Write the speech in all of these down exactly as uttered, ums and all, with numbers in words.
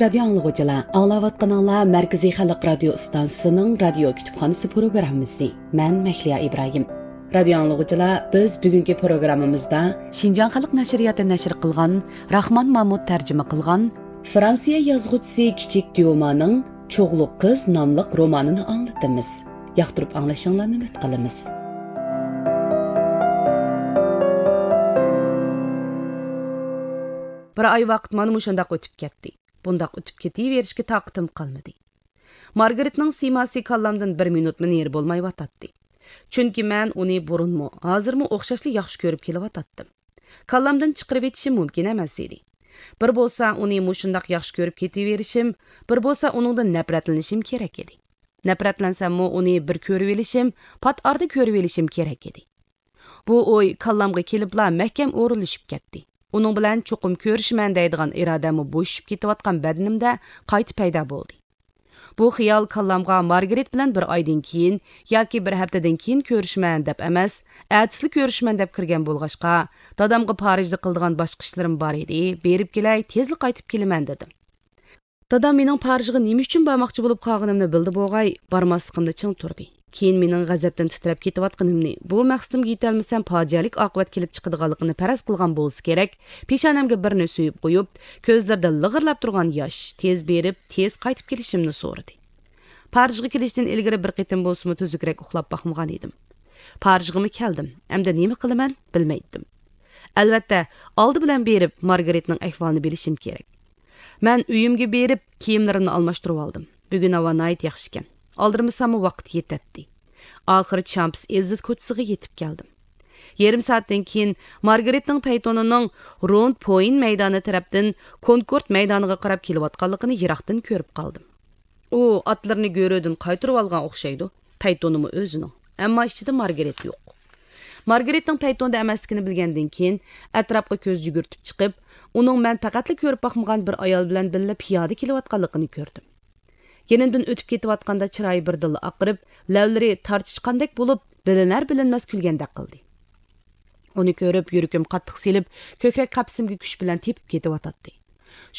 رادىيو ئاڭلىغۇچىلار، ئاڭلاۋاتقىنىڭلار مەركىزىي خەلق رادىيو ئىستانسىسىنىڭ رادىيو كۈتۈپخانىسى پروگراممىسى. مەن مەھلىيا ئىبراھىم. رادىيو ئاڭلىغۇچىلار، بىز بۈگۈنكى پروگراممىمىزدا شىنجاڭ خەلق نەشرىياتى نەشر قىلغان، راخمان مامۇت تەرجىمە قىلغان، فرانسىيە يازغۇچىسى كىچىك ديومانىڭ چوغلۇق قىز ناملىق رومانىنى ئاڭلىتىمىز. ياقتۇرۇپ ئاڭلىشىڭلارنى ئۈمىد قىلىمىز. بىر ئاي ۋاقىت مانا مۇشۇنداق ئۆتۈپ كەتتى. بۇنداق ئۆتۈپ كېتىۋېرىشكە تاقىتىم قالمىدى. مارگارېتنىڭ سىيماسى كاللامدىن بىر مىنۇتمۇ نېرى بولمايۋاتاتتى. چۈنكى مەن ئۇنى بۇرۇنمۇ، ھازىرمۇ ئوخشاشلا ياخشى كۆرۈپ كېلىۋاتاتتىم. كاللامدىن چىقىرىۋېتىشىم مۇمكىن ئەمەس ئىدى. بىر بولسا ئۇنى مۇشۇنداق ياخشى كۆرۈپ كېتىۋېرىشىم، بىر بولسا ئۇنىڭدىن نەپرەتلىنىشىم كېرەك ئىدى. نەپرەتلەنسەممۇ ئۇنى بىر كۆرۈۋېلىشىم، پات ئارىدا كۆرۈۋېلىشىم كېرەك ئىدى. بۇ ئوي كاللامغا كېلىپلا مەھكەم ئورۇنلىشىپ كەتتى. ئۇنىڭ بىلەن چوقۇم كۆرۈشىمەن دەيدىغان ئىرادەممۇ بوشىشىپ كېتىۋاتقان بەدىنىمدە قايتا پەيدا بولدى. بۇ خىيال كاللامغا مارگرېت بىلەن بىر ئايدىن كېيىن ياكى بىر ھەپتىدىن كېيىن كۆرۈشىمەن دەپ ئەمەس، ئەتىسىلا كۆرۈشىمەن دەپ كىرگەن بولغاچقا، دادامغا پارىژدا قىلىدىغان باشقا ئىشلىرىم بار ئىدى، بېرىپ كېلەي، تېزلا قايتىپ كېلىمەن دېدىم. دادام مېنىڭ پارىژغا نېمە ئۈچۈن بارماقچى بولۇپ قالغىنىمنى بىلدى بوغاي، بارماسلىقىمدا چىڭ تۇردى. كېيىن مېنىڭ غەزەپتىن تىترەپ كېتىۋاتقىنىمنى، بۇ مەقسىتىمگە يېتەلمىسەم پاجىئەلىك ئاقىۋەت كېلىپ چىقىدىغانلىقىنى پەرەز قىلغان بولسا كېرەك، پېشانەمگە بىرنى سۆيۈپ قويۇپ، كۆزلىرىدە لىغىرلاپ تۇرغان ياش، تېز بېرىپ، تېز قايتىپ كېلىشىمنى سورىدى. پارىژغا كېلىشتىن ئىلگىرى بىر قېتىم بولسىمۇ تۈزۈكرەك ئۇخلاپ باقمىغان ئىدىم. پارىژغىمۇ كەلدىم. ئەمدى نېمە قىلىمەن؟ بىلمەيتتىم. ئەلۋەتتە، ئالدى بىلەن بېرىپ، مارگرېتنىڭ ئەھۋالىنى بىلىشىم كېرەك. مەن ئۆيۈمگە بېرىپ، كىيىملىرىمنى ئالماشتۇرۇۋالدىم. بۈگۈن ھاۋا ناھايىتى ياخشىكەن. ئالدىرىمىساممۇ ۋاقىت يېتەتتى. ئاخىرى چامپس ئېلزىز كوچىسىغا يېتىپ كەلدىم. يېرىم سائەتتىن كېيىن مارگرېتنىڭ پەيتونىنىڭ روند پويىن مەيدانى تەرەپتىن كونكورد مەيدانىغا قاراپ كېلىۋاتقانلىقىنى يىراقتىن كۆرۈپ قالدىم. ئۇ ئاتلىرىنى گۆرۈدىن قايتۇرۇۋالغان ئوخشايدۇ. پەيتونىمۇ ئۆزىنىڭ. ئەمما ئىچىدە مارگرېت يوق. مارگرېتنىڭ پەيتوندا ئەمەسلىكىنى بىلگەندىن كېيىن، ئەتراپقا كۆز يۈگۈرتۈپ چىقىپ، ئۇنىڭ مەن پەقەتلا كۆرۈپ باقمىغان بىر ئايال بىلەن بىللە پىيادە كېلىۋاتقانلىقىنى كۆردۈم. يېنىمدىن ئۆتۈپ كېتىۋاتقاندا چىرايى بىردىنلا ئاقىرىپ، لەۋلىرى تارتىشقاندەك بولۇپ، بىلىنەر-بىلىنمەس كۈلگەندەك قىلدى. ئۇنى كۆرۈپ، يۈرىكىم قاتتىق سېلىپ، كۆكرەك قەپىسىمگە كۈچ بىلەن تېپىپ كېتىۋاتاتتى.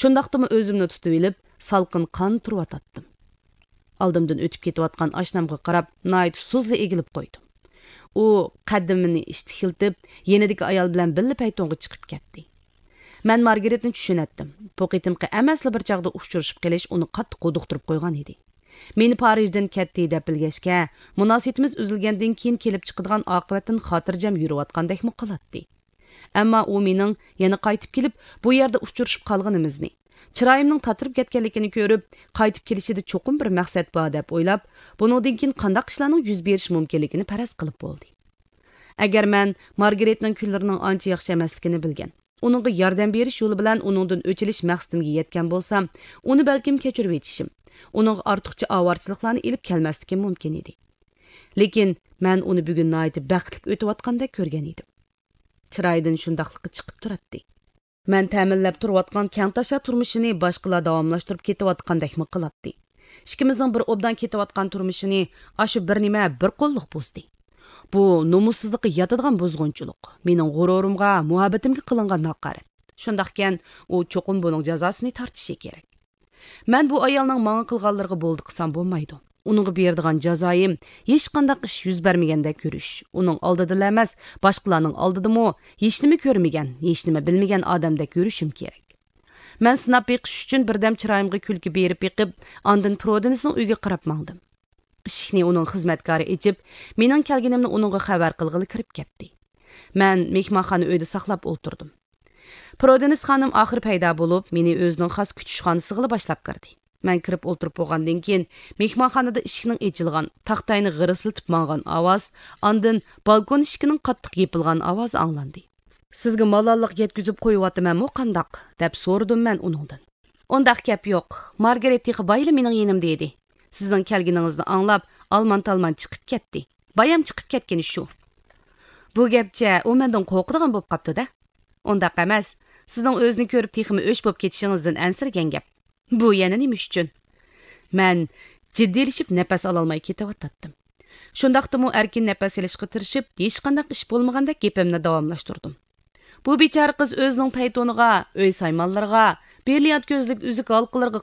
شۇنداقتىمۇ ئۆزۈمنى تۇتۇۋېلىپ، سالقىن قان تۇرۇۋاتاتتىم. ئالدىمدىن ئۆتۈپ كېتىۋاتقان ئاشنامغا قاراپ، ناھايىتى سۇسلا ئېگىلىپ قويدۇم. ئۇ قەدىمىنى ئىشتىكلىتىپ، يېنىدىكى ئايال بىلەن بىللە پەيتونغا چىقىپ كەتتى. مەن مارگرېتنى چۈشىنەتتىم. بۇ قېتىمقى ئەمەسلا بىر چاغدا ئۇچرىشىپ قېلىش ئۇنى قاتتىق ھودۇقتۇرۇپ قويغان ئىدى. مېنى پارىژدىن كەتتى دەپ بىلگەچكە، مۇناسىۋىتىمىز ئۈزۈلگەندىن كېيىن كېلىپ چىقىدىغان ئاقىۋەتتىن خاتىرجەم يۈرۈۋاتقاندەكمۇ قىلاتتى. ئەمما ئۇ مېنىڭ يەنە قايتىپ كېلىپ، بۇ يەردە ئۇچرىشىپ قالغىنىمىزنى، چىرايىمنىڭ تاتىرىپ كەتكەنلىكىنى كۆرۈپ، قايتىپ كېلىشىدە چوقۇم بىر مەقسەت بار دەپ ئويلاپ، بۇنىڭدىن كېيىن قانداق ئىشلارنىڭ يۈز بېرىشى مۇمكىنلىكىنى پەرەز قىلىپ بولدى. ئەگەر مەن مارگرېتنىڭ كۈنلىرىنىڭ ئانچە ياخشى ئەمەسلىكىنى بىلگەن، ئۇنىڭغا ياردەم بېرىش يولى بىلەن ئۇنىڭدىن ئۆچ ئېلىش مەقسىتىمگە يەتكەن بولسام، ئۇنى بەلكىم كەچۈرۈۋېتىشىم، ئۇنىڭغا ئارتۇقچە ئاۋارىچىلىقلارنى ئېلىپ كەلمەسلىكىم مۇمكىن ئىدى. لېكىن مەن ئۇنى بۈگۈن ناھايىتى بەختلىك ئۆتۈۋاتقاندەك كۆرگەن ئىدىم. چىرايىدىن شۇنداقلىقى چىقىپ تۇراتتى. مەن تەمىنلەپ تۇرۇۋاتقان كەڭتاشا تۇرمۇشىنى باشقىلار داۋاملاشتۇرۇپ كېتىۋاتقاندەكمۇ قىلاتتى. ئىككىمىزنىڭ بىر ئوبدان كېتىۋاتقان تۇرمۇشىنى ئاشۇ بىر نېمە بىر قوللۇق بۇزدى. بۇ نومۇسسىزلىققا ياتىدىغان بۇزغۇنچىلىق، مېنىڭ غۇرۇرۇمغا، مۇھەببىتىمگە قىلىنغان ھاقارەت. شۇنداقكەن، ئۇ چوقۇم بۇنىڭ جازاسىنى تارتىشى كېرەك. مەن بۇ ئايالنىڭ ماڭا قىلغانلىرىغا بولدى قىلسام بولمايدۇ. ئۇنىڭغا بېرىدىغان جازايىم ھېچقانداق ئىش يۈز بەرمىگەندەك يۈرۈش، ئۇنىڭ ئالدىدىلا ئەمەس، باشقىلارنىڭ ئالدىدىمۇ ھېچنېمە كۆرمىگەن، ھېچنېمە بىلمىگەن ئادەمدەك يۈرۈشۈم كېرەك. مەن سىناپ بېقىش ئۈچۈن بىردەم چىرايىمغا كۈلكە بېرىپ بېقىپ، ئاندىن پرودېنسنىڭ ئۆيىگە قاراپ ماڭدىم. ئىشىكنى ئۇنىڭ خىزمەتكارى ئېچىپ، مېنىڭ كەلگىنىمنى ئۇنىڭغا خەۋەر قىلغىلى كىرىپ كەتتى. مەن مېھمانخانا ئۆيدە ساقلاپ ئولتۇردۇم. پرودېنس خانىم ئاخىر پەيدا بولۇپ، مېنى ئۆزىنىڭ خاس كۈتۈشخانىسىغىلا باشلاپ كىردى. مەن كىرىپ ئولتۇرۇپ بولغاندىن كېيىن، مېھمانخانىدا ئىشىكنىڭ ئېچىلغان، تاختاينى غىرىسلىتىپ ماڭغان ئاۋاز، ئاندىن بالكون ئىشىكىنىڭ قاتتىق يېپىلغان ئاۋازى ئاڭلاندى. «سىزگە مالاللىق يەتكۈزۈپ قويۇۋاتىمەنمۇ قانداق؟» دەپ سورىدىم مەن ئۇنىڭدىن. «ئۇنداق گەپ يوق. مارگرېت تېخى بايىلا مېنىڭ يېنىمدا ئىدى. سىزنىڭ كەلگىنىڭىزنى ئاڭلاپ، ئالمان-تالمان چىقىپ كەتتى. بايام چىقىپ كەتكىنى شۇ.» بۇ گەپچە ئۇ مەندىن قورقىدىغان بولۇپ قاپتۇ-دە. «ئۇنداق ئەمەس. سىزنىڭ ئۆزىنى كۆرۈپ تېخىمۇ ئۆچ بولۇپ كېتىشىڭىزدىن ئەنسىرىگەن گەپ.» «بۇ يەنە نېمە ئۈچۈن؟» مەن جىددىيلىشىپ نەپەس ئالالماي كېتىۋاتاتتىم. شۇنداقتىمۇ ئەركىن نەپەس ئېلىشقا تىرىشىپ، ھېچقانداق ئىش بولمىغاندەك گېپىمنى داۋاملاشتۇردۇم. «بۇ بىچارە قىز ئۆزىنىڭ پەيتونىغا، ئۆي سايمانلىرىغا، برىليانت كۆزلۈك، ئۈزۈك ھالقىلىرىغا